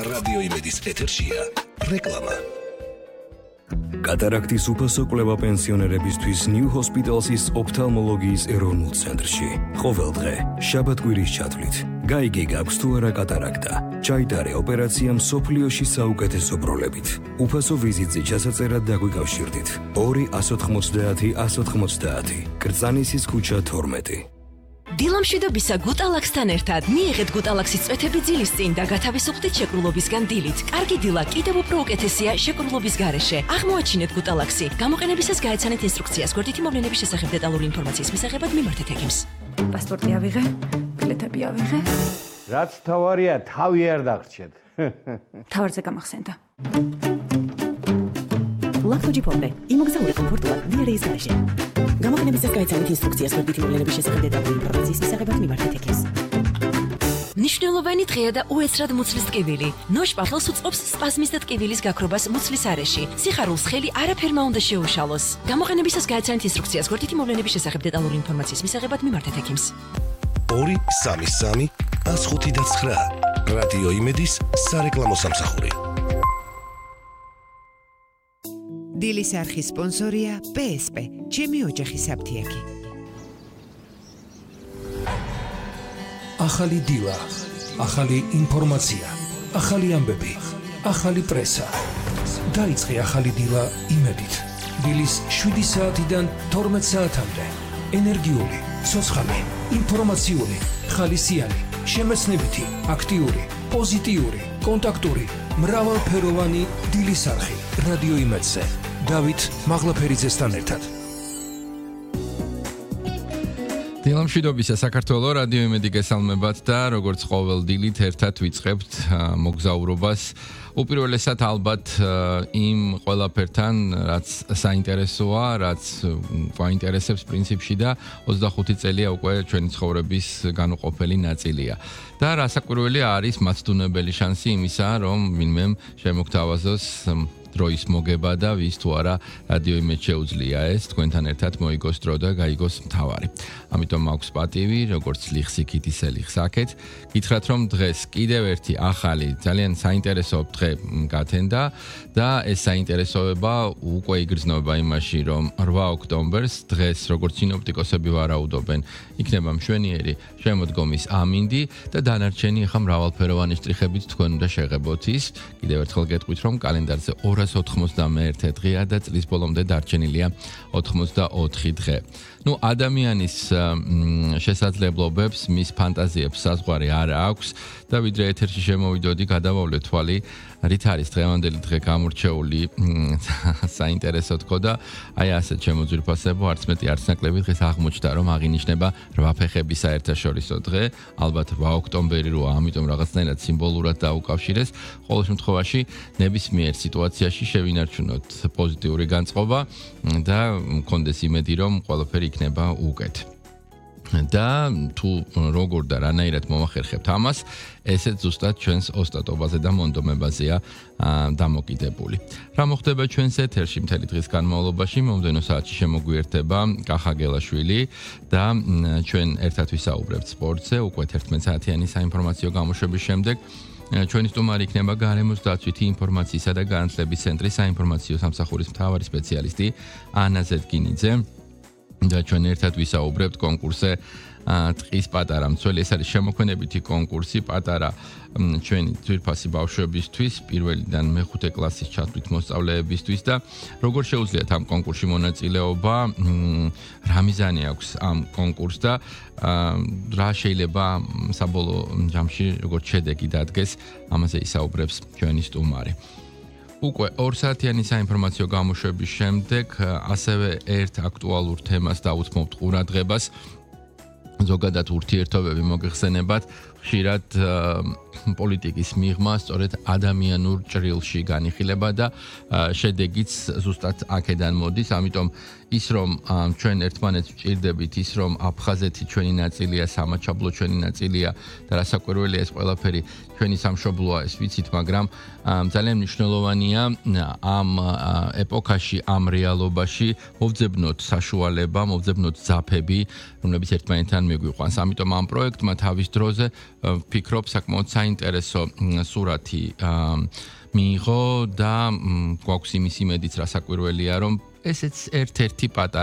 რადიო იმედის ეთერშია რეკლამა. კატარაქტის უფასო კვლევა პენსიონერებისთვის New Hospital's ოფთალმოლოგიის ეროვნულ ცენტრში. ყოველ დღე, შაბათ-კვირის ჩათვლით, გაიგე გაქვს თუ არა კატარაქტა. ჩაიტარე ოპერაცია მსოფლიოში საუკეთესო პროლებით. უფასო ვიზიტზე ჩასაწერად დაგვიკავშირდით. 2-190-190, კრწანისის ქუჩა 12. დილამშვიდობისა გუტალაქსთან ერთად მიიღეთ გუტალაქსის წვეთები ძილის წინ და გათავისუფლდით შეკრულობისგან დილით. კარგი დილა კიდევ უფრო უკეთესია შეკრულობის გარეშე. აღმოაჩინეთ გუტალაქსი. გამოყენებისას გაეცანეთ ინსტრუქციას. გვერდითი მოვლენების შესახებ დეტალური ინფორმაციის მისაღებად მიმართეთ ექიმს. პასპორტი ავიღე, ბილეთები ავიღე. რაც თავარია, თავი არ დაგრჩეთ. თავარზე გამახსენდა. ლაქტოჯიპომპე, იმოგზაურე კომფორტულად დიარეის გარეშე. გამოყენებისას გაეცანით ინსტრუქციას გვერდითი მოვლენების შესახებ დეტალური ინფორმაციის მისაღებად მიმართეთ ექიმს. მნიშვნელოვანი დღეა და უეცრად მუცლის ტკივილი. ნოშპახელს უწყობს სპაზმის და ტკივილის გაქრობას მუცლის არეში. სიხარულს ხელი არაფერმა უნდა შეუშალოს. გამოყენებისას გაეცანით ინსტრუქციას გვერდითი მოვლენების შესახებ დეტალური ინფორმაციის მისაღებად მიმართეთ ექიმს. 233 159 რადიო იმედის სარეკლამო სამსახური. დილის არხის სპონსორია PSP, ჩემი ოჯახის აფთიაქი. ახალი დილა, ახალი ინფორმაცია, ახალი ამბები, ახალი პრესა. დაიწყე ახალი დილა იმედით. დილის 7 საათიდან 12 საათამდე. ენერგიული, ცოცხალი, ინფორმაციული, ხალისიანი, შემეცნებითი, აქტიური, პოზიტიური, კონტაქტური, მრავალფეროვანი დილის არხი რადიო იმედზე. დავით მაღლაფერიძესთან ერთად. დილამშვიდობისა საქართველო რადიო იმედი გესალმებათ და როგორც ყოველ დილით ერთად ვიწყებთ მოგზაურობას. უპირველესად ალბათ იმ ყველაფერთან, რაც საინტერესოა, რაც გვაინტერესებს პრინციპში და 25 წელია უკვე ჩვენი ცხოვრების განუყოფელი ნაწილია. და რასაკვირველი არის მაცდუნებელი შანსი იმისა, რომ ვინმე შემოგთავაზოს დროის მოგება და ვის თუ არა რადიო იმედს შეუძლია ეს თქვენთან ერთად მოიგოს დრო და გაიგოს მთავარი. ამიტომ მაქვს პატივი, როგორც ლიხსიქით ისე ლიხსაკეთ, გითხრათ რომ დღეს კიდევ ერთი ახალი, ძალიან საინტერესო დღე გათენდა და ეს საინტერესოება უკვე იგრძნობა იმაში, რომ 8 ოქტომბერს დღეს როგორც სინოპტიკოსები ვარაუდობენ, იქნება მშვენიერი შემოდგომის ამინდი და დანარჩენი ახლა მრავალფეროვანი შტრიხებით თქვენ უნდა შეღებოთ ის. კიდევ ერთხელ გეტყვით რომ კალენდარზე 291 დღეა და წლის ბოლომდე დარჩენილია 84 დღე. ადამიანის შესაძლებლობებს, მის ფანტაზიებს საზღვარი არ აქვს და ვიდრე ეთერში შემოვიდოდი, გადავავლე თვალი, რით არის დღევანდელი დღე გამორჩეული საინტერესო თქო და აი ასეთ შემოძვირფასებო არც მეტი არც ნაკლები დღეს აღმოჩნდა რომ აღინიშნება 8 ფეხების საერთაშორისო დღე, ალბათ 8 ოქტომბერი როა, ამიტომ რაღაცნაირად სიმბოლურად დაუკავშირეს. ყოველ შემთხვევაში ნებისმიერ სიტუაციაში შევინარჩუნოთ პოზიტიური განწყობა და მქონდეს იმედი რომ ყველაფერი იქნება უკეთ. და თუ როგორ და რანაირად მომახერხებთ ამას, ესეც ზუსტად ჩვენს ოსტატობაზე და მონდომებაზეა დამოკიდებული. რა მოხდება ჩვენს ეთერში მთელი დღის განმავლობაში, მომდევნო საათში შემოგვიერთება კახა გელაშვილი და ჩვენ ერთად ვისაუბრებთ სპორტზე, უკვე 11 საათიანი საინფორმაციო გამოშვების შემდეგ. ჩვენი სტუმარი იქნება გარემოს დაცვითი ინფორმაციისა და განათლების ცენტრის საინფორმაციო სამსახურის მთავარი სპეციალისტი ანა ზედგინიძე. და ჩვენ ერთად ვისაუბრებთ კონკურსზე ტყის პატარა მცველი. ეს არის შემოქმედებითი კონკურსი პატარა ჩვენი ძვირფასი ბავშვებისთვის, პირველიდან მეხუთე კლასის ჩათვლით მოსწავლეებისთვის და როგორ შეუძლიათ ამ კონკურსში მონაწილეობა, რა მიზანი აქვს ამ კონკურსს და რა შეიძლება საბოლოო ჯამში როგორც შედეგი დადგეს, ამაზე ისაუბრებს ჩვენი სტუმარი. უკვე 2 საათიანი საინფორმაციო გამოშვების შემდეგ ასევე ერთ აქტუალურ თემას დავუთმობთ ყურადღებას. ზოგადად ურთიერთობები მოგეხსენებათ, ხშირად პოლიტიკის მიღმა სწორედ ადამიანურ ჭრილში განიხილება და შედეგიც ზუსტად აქედან მოდის, ამიტომ ის რომ ჩვენ ერთმანეთს ვჭირდებით, ის რომ აფხაზეთი ჩვენი ნაწილია, სამაჩაბლო ჩვენი ნაწილია და რასაკვირველია ეს ყველაფერი ჩვენი სამშობლოა, ეს ვიცით, მაგრამ ძალიან მნიშვნელოვანია ამ ეპოქაში, ამ რეალობაში მოვძებნოთ საშუალება, მოვძებნოთ ძაფები, რომლებიც ერთმანეთთან მიგვიყვანს. ამიტომ ამ პროექტმა თავის დროზე ვფიქრობ საკმაოდ საინტერესო სურათი მიიღო და გვაქვს იმის იმედიც, რა საკვირველია, რომ ესეც ერთ-ერთი პატარა